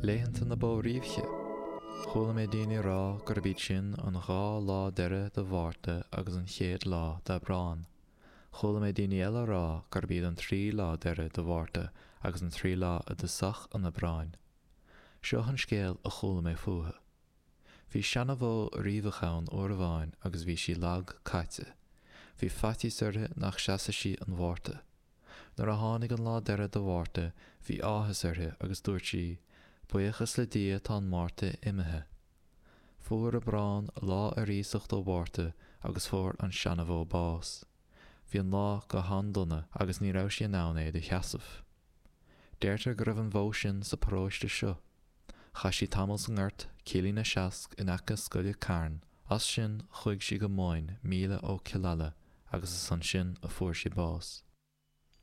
Laethanta na Bó Riabhaiche. Chuala mé daoine ag rá gurb iad sin an 2 lá deiridh de Mhárta agus an chéad lá d'Aibreán. Chuala mé daoine eile ag rá gurb iad an 3 lá deiridh de Mhárta agus an 3 lá i dtosach an Aibreáin. Seo an scéal a chuala mé fúthu. Bhí seanabhó riabhach ann uair amháin agus bhí sí lag caite. Bhí faitíos uirthi nach seasfadh sí an Mhárta. Nuair a tháinig an lá deiridh de Mhárta bhí áthas uirthi agus dúirt sí, Buíochas le Dia tá an Márta imithe. Fuair Aibreán lá ar iasacht ó Mhárta agus fuair an seanabhó bás. Bhí an lá go han-dona agus ní raibh sí in ann é do sheasamh. Deirtear go raibh an bhó sin sa paróiste seo. Chaith sí tamall sa ngort, Cillín a Seasc, in aice scoile Carn. As sin chuaigh sí go Moyne, míle ó Killala, agus is ansin a fuair sí bás.